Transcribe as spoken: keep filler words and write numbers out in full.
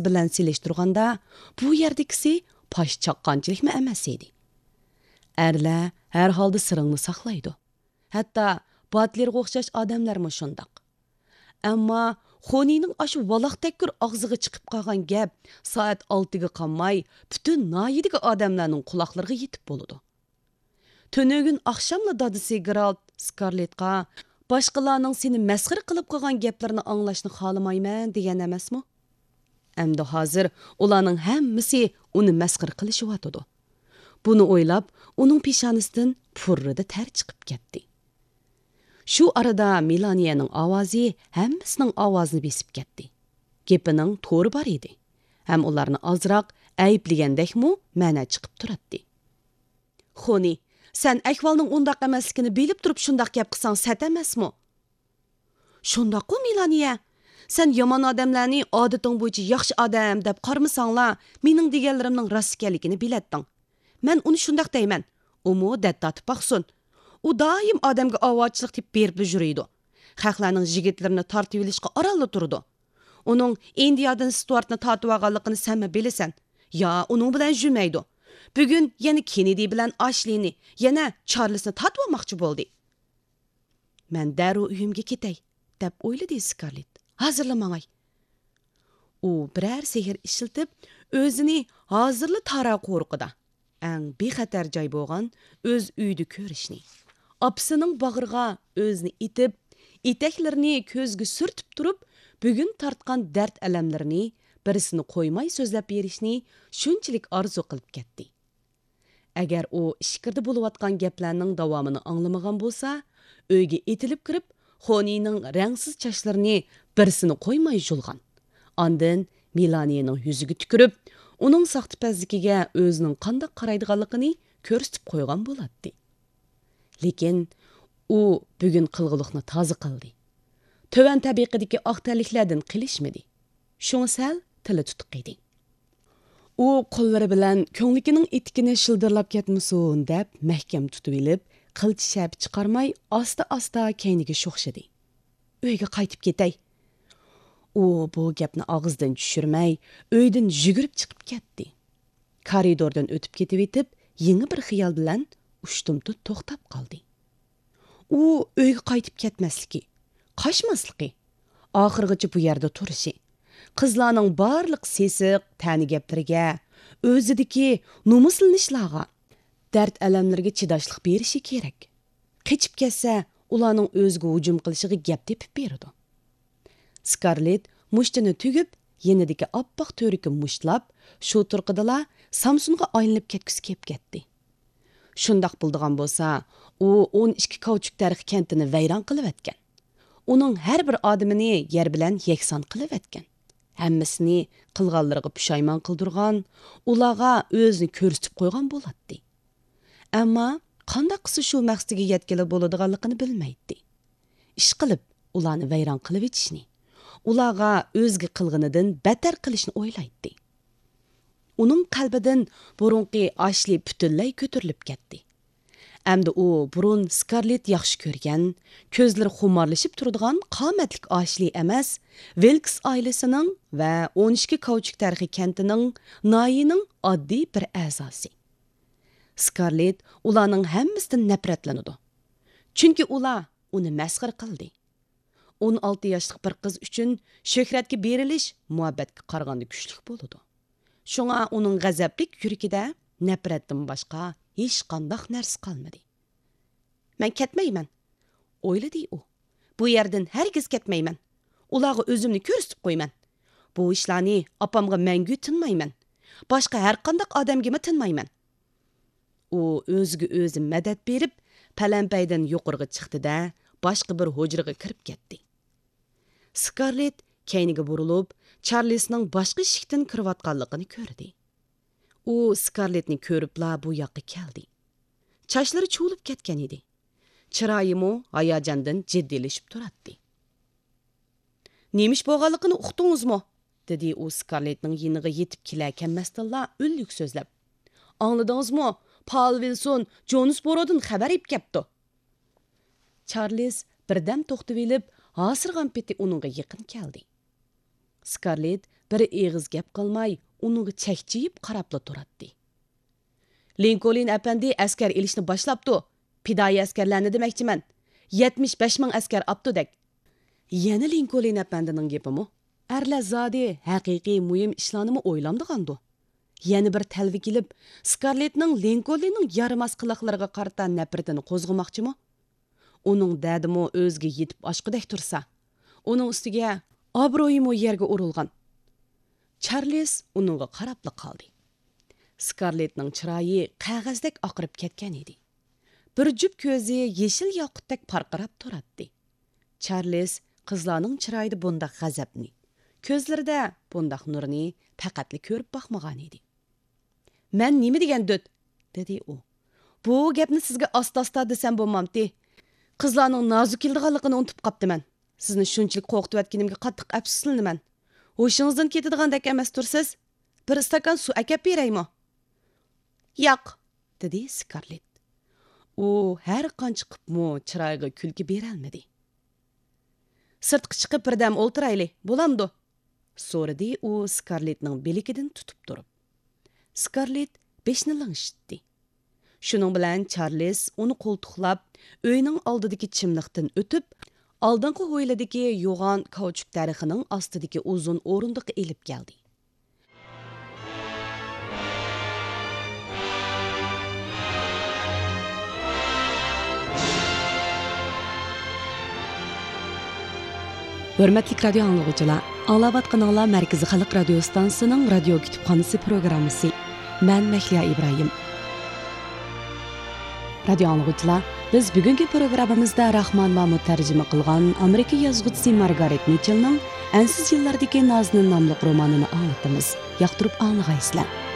بىلەن سېلىشتۇرغاندا، بۇ يەردىكىسى پاش چاققانچىلىكمۇ ئەمەس ئىدى. ئەرلەر ھەر ھالدا سىرىڭنى ساقلايدۇ. ھەتتا باتلېرغا ئوخشاش ئادەملەرمۇ شۇنداق. ئەمما خونىنىڭ ئاشۇ ۋالاق تەككۈر ئاغزىغا چىقىپ قالغان گەپ سائەت ئالتىگە قالماي پۈتۈن ناھىيىدىكى ئادەملەرنىڭ قۇلاقلىرىغا يېتىپ بولىدۇ. تۈنۈگۈن ئاخشاملا دادىسى گېرالت سكارلېتقا «باشقىلارنىڭ سېنى مەسخىرە قىلىپ قىلغان گەپلىرىنى ئاڭلاشنى خالىمايمەن» دېگەن ئەمەسمۇ؟ ئەمدى ھازىر ئۇلارنىڭ ھەممىسى ئۇنى مەسخىرە قىلىشىۋاتىدۇ. بۇنى ئويلاپ، ئۇنىڭ پېشانىسىدىن پۇررىدە تەر چىقىپ كەتتى. شۇ ئارىدا مېلانىيەنىڭ ئاۋازى ھەممىسىنىڭ ئاۋازىنى بېسىپ كەتتى. گېپىنىڭ تورى بار ئىدى. ھەم ئۇلارنى ئازراق ئەيىبلىگەندەكمۇ مەنە چىقىپ تۇراتتى. خونى، سەن ئەھۋالنىڭ ئۇنداق ئەمەسلىكىنى بىلىپ تۇرۇپ شۇنداق گەپ قىلساڭ سەت ئەمەسمۇ؟ شۇنداققۇ، مېلانىيە. سەن يامان ئادەملەرنى ئادىتىڭ بويىچە ياخشى ئادەم دەپ قارىمىساڭلا، مېنىڭ دېگەنلىرىمنىڭ راست ئىكەنلىكىنى بىلەتتىڭ. مەن ئۇنى شۇنداق دەيمەن. ئۇمۇ دەت تارتىپ باقسۇن. ئۇ دائىم ئادەمگە ئاۋارىچىلىك تېپىپ بېرىپلا يۈرىدۇ. خەقلەرنىڭ يىگىتلىرىنى تارتىۋېلىشقا ئارانلا تۇرىدۇ. ئۇنىڭ ئىندىيادىن ستۇئارتنى تارتىۋالغانلىقىنى سەنمۇ بىلىسەن. يا، ئۇنىڭ بىلەن يۈرمەيدۇ. بۈگۈن يەنە كېننېدى بىلەن ئاشلىنى، يەنە چارلىسنى تارتىۋالماقچى بولدى. مەن دەررۇ ئۆيۈمگە كېتەي، دەپ ئويلىدى سكارلېت. ھازىرلا ماڭاي. ئۇ بىرەر سېھىر ئىشلىتىپ، ئۆزىنى ھازىرلا تارا قورۇقىدا، ئەڭ بىخەتەر جاي بولغان ئۆز ئۆيىدە كۆرۈشنى، ئاپىسىنىڭ باغرىغا ئۆزىنى ئېتىپ، ئېتەكلىرىنى كۆزگە سۈرتۈپ تۇرۇپ، بۈگۈن تارتقان دەرد-ئەلەملىرىنى بىرسىنى قويماي سۆزلەپ بېرىشنى شۇنچىلىك ئارزۇ قىلىپ كەتتى. ئەگەر ئۇ ئىچكىرىدە بولۇۋاتقان گەپلەرنىڭ داۋامىنى ئاڭلىمىغان بولسا، ئۆيگە ئېتىلىپ كىرىپ، خونىنىڭ رەڭسىز چاچلىرىنى بىرسىنى قويماي يۇلغان. ئاندىن مېلانىيەنىڭ يۈزىگە تۈكۈرۈپ، ئۇنىڭ ساختىپەزلىكىگە ئۆزىنىڭ قانداق قارايدىغانلىقىنى كۆرسىتىپ قويغان بولاتتى. لېكىن ئۇ بۈگۈن قىلغۇلۇقنى تازا قىلدى. تۆۋەن تەبىقىدىكى ئاق تەنلىكلەردىن قېلىشمىدى. شۇڭا سەل تىلى تۇتۇق ئىدى. ئۇ قوللىرى بىلەن كۆڭلىكىنىڭ ئېتىكىنى شىلدىرلاپ كەتمىسۇن دەپ مەھكەم تۇتۇۋېلىپ، قىلچە شەپە چىقارماي ئاستا-ئاستا كەينىگە شوخشىدى. ئۆيگە قايتىپ كېتەي. ئۇ بۇ گەپنى ئاغزىدىن چۈشۈرمەي، ئۆيدىن يۈگۈرۈپ چىقىپ كەتتى. كارىدوردىن ئۆتۈپ كېتىۋېتىپ، يېڭى بىر خىيال بىلەن ئۇشتۇمتۇت توختاپ قالدى. ئۇ ئۆيگە قايتىپ كەتمەسلىكى، قاچماسلىقى، ئاخىرغىچە بۇ يەردە تۇرۇشى، قىزلارنىڭ بارلىق سېسىق، تەنە گەپلىرىگە، ئۆزىدىكى نومۇسلىنىشلارغا، دەرد-ئەلەملىرىگە چىداشلىق بېرىشى كېرەك. قېچىپ كەتسە، ئۇلارنىڭ ئۆزىگە ھۇجۇم قىلىشىغا گەپ تېپىپ بېرىدۇ. سكارلېت مۇشتىنى تۈگۈپ، يېنىدىكى ئاپئاق تۈۋرۈكى مۇشتلاپ، شۇ تۇرقىدىلا سامسونغا ئايلىنىپ كەتكۈسى كېلىپ كەتتى. شۇنداق بولىدىغان بولسا، ئۇ ئون ئىككى كاۋچۇك تەرىخى كەنتىنى ۋەيران قىلىۋەتكەن. ئۇنىڭ ھەر بىر ئادىمىنى يەر بىلەن يەكسان قىلىۋەتكەن. ھەممىسىنى قىلغانلىرىغا پۇشايمان قىلدۇرغان، ئۇلارغا ئۆزىنى كۆرسىتىپ قويغان بولاتتى. ئەمما قانداق قىلسا شۇ مەقسىتىگە يەتكىلى بولىدىغانلىقىنى بىلمەيتتى. ئىشقىلىپ، ئۇلارنى ۋەيران قىلىۋېتىشنى، ئۇلارغا ئۆزىگە قىلغىنىدىن بەتتەر قىلىشنى ئويلايتتى. ئۇنىڭ قەلبىدىن بۇرۇنقى ئاشلى پۈتۈنلەي كۆتۈرۈلۈپ كەتتى. ئەمدى ئۇ بۇرۇن سكارلېت ياخشى كۆرگەن، كۆزلىرى خۇمارلىشىپ تۇرىدىغان قامەتلىك ئاشلى ئەمەس، ۋىلكس ئائىلىسىنىڭ ۋە ئون ئىككى كاۋچۇك تەرىخى كەنتىنىڭ، ناھىيىنىڭ ئاددىي بىر ئەزاسى. سكارلېت ئۇلارنىڭ ھەممىسىدىن نەپرەتلىنىدۇ. چۈنكى ئۇلار ئۇنى مەسخىرە قىلدى. ئون ئالتە ياشلىق بىر قىز ئۈچۈن شۆھرەتكە بېرىلىش مۇھەببەتكە قارىغاندا كۈچلۈك بولىدۇ. شۇڭا ئۇنىڭ غەزەپلىك يۈرىكىدە نەپرەتتىن باشقا ھېچقانداق نەرسە قالمىدى. «مەن كەتمەيمەن»، ئويلىدى ئۇ. «بۇ يەردىن ھەرگىز كەتمەيمەن. ئۇلارغا ئۆزۈمنى كۆرسىتىپ قويىمەن. بۇ ئىشلارنى ئاپامغا مەڭگۈ تىنمايمەن. باشقا ھەرقانداق ئادەمگىمۇ تىنمايمەن.» ئۇ ئۆزىگە ئۆزى مەدەت بېرىپ، پەلەمپەيدىن يۇقىرىغا چىقتى-دە، باشقا بىر ھۇجرىغا كىرىپ كەتتى. سكارلېت كەينىگە بۇرۇلۇپ، چارلىسنىڭ باشقا ئىشىكتىن كىرىۋاتقانلىقىنى كۆردى. ئۇ سكارلېتنى كۆرۈپلا بۇ ياققا كەلدى. چاچلىرى چۇۋۇلۇپ كەتكەن ئىدى. چىرايىمۇ ھاياجاندىن جىددىيلىشىپ تۇراتتى. «نېمە ئىش بولغانلىقىنى ئۇقتىڭىزمۇ؟» دېدى ئۇ سكارلېتنىڭ يېنىغا يېتىپ كېلەر-كەلمەستىنلا ئۈنلۈك سۆزلەپ. «ئاڭلىدىڭىزمۇ؟ پال ۋىلسون جونسبورودىن خەۋەر ئېلىپ كەپتۇ.» چارلىز بىردەم توختىۋېلىپ، ھاسىرىغان پېتى ئۇنىڭغا يېقىن كەلدى. سكارلېت بىر ئېغىز گەپ قىلماي، ئۇنىڭغا چەكچىيىپ قاراپلا تۇراتتى. لىنكولن ئەپەندى ئەسكەر ئېلىشنى باشلاپتۇ. پىدائىي ئەسكەرلەرنى دېمەكچىمەن. يەتمىش بەش مىڭ ئەسكەر ئاپتۇ دەك. يەنە لىنكولن ئەپەندىنىڭ گېپىمۇ؟ ئەرلەر زادى ھەقىقىي مۇھىم ئىشلارنىمۇ ئويلامدىغاندۇ؟ يەنە بىر تەلۋە كېلىپ، سكارلېتنىڭ لىنكولننىڭ يارىماس قىلىقلىرىغا قارىتا نەپرىتىنى قوزغىماقچىمۇ؟ ئۇنىڭ دەردىمۇ ئۆزىگە يېتىپ ئاشقۇدەك تۇرسا، ئۇنىڭ ئۈستىگە ئابرۇيىمۇ يەرگە ئۇرۇلغان. چارلىز ئۇنىڭغا قاراپلا قالدى. سكارلېتنىڭ چىرايى قەغەزدەك ئاقىرىپ كەتكەن ئىدى. بىر جۈپ كۆزى يېشىل ياقۇتتەك پارقىراپ تۇراتتى. چارلىز قىزلارنىڭ چىرايىدا بۇنداق غەزەپنى، كۆزلىرىدە بۇنداق نۇرنى پەقەتلا كۆرۈپ باقمىغان ئىدى. مەن نېمە دېگەن دۆت؟ دېدى ئۇ. بۇ گەپنى سىزگە ئاستا-ئاستا دېسەم بولمامتى؟ قىزلارنىڭ نازۇ كېلىدىغانلىقىنى ئۇنتۇپ قاپتىمەن. سىزنى شۇنچىلىك قورقۇتۇۋەتكىنىمگە قاتتىق ئەپسۇسلىنىمەن. ھوشىڭىزدىن كېتىدىغاندەك ئەمەستۇرسىز؟ بىر ئىستاكان سۇ ئەكەپ بېرەيمۇ؟ ياق، دېدى سكارلېت. ئۇ ھەر قانچە قىپمۇ چىرايىغا كۈلكە بېرەلمىدى. سىرتقا چىقىپ بىردەم ئولتۇرايلى، بولامدۇ؟ سورىدى ئۇ سكارلېتنىڭ بىلىكىدىن تۇتۇپ تۇرۇپ. سكارلېت بېشىنى لىڭشىتتى. شۇنىڭ بىلەن چارلىز ئۇنى قولتۇقلاپ، ئۆينىڭ ئالدىدىكى چىملىقتىن ئۆتۈپ، ئالدىنقى ھويلىدىكى يوغان كاۋچۇك دەرىخىنىڭ ئاستىدىكى ئۇزۇن ئورۇندۇققا ئېلىپ كەلدى. ھۆرمەتلىك رادىيو ئاڭلىغۇچىلار، ئاڭلاۋاتقىنىڭلار مەركىزىي خەلق رادىيو ئىستانسىسىنىڭ رادىيو كۇتۇپخانىسى پروگراممىسى. مەن مەھلىيا ئىبراھىم. رادىيو ئاڭلىغۇچىلار، بىز بۈگۈنكى پروگراممىمىزدا راخمان مامۇت تەرجىمە قىلغان ئامېرىكا يازغۇچىسى مارگارېت مىچېلنىڭ ئەنسىز يىللاردىكى نازنىن ناملىق رومانىنى ئاڭلىتىمىز. ياقتۇرۇپ ئاڭلىغايسىلەر.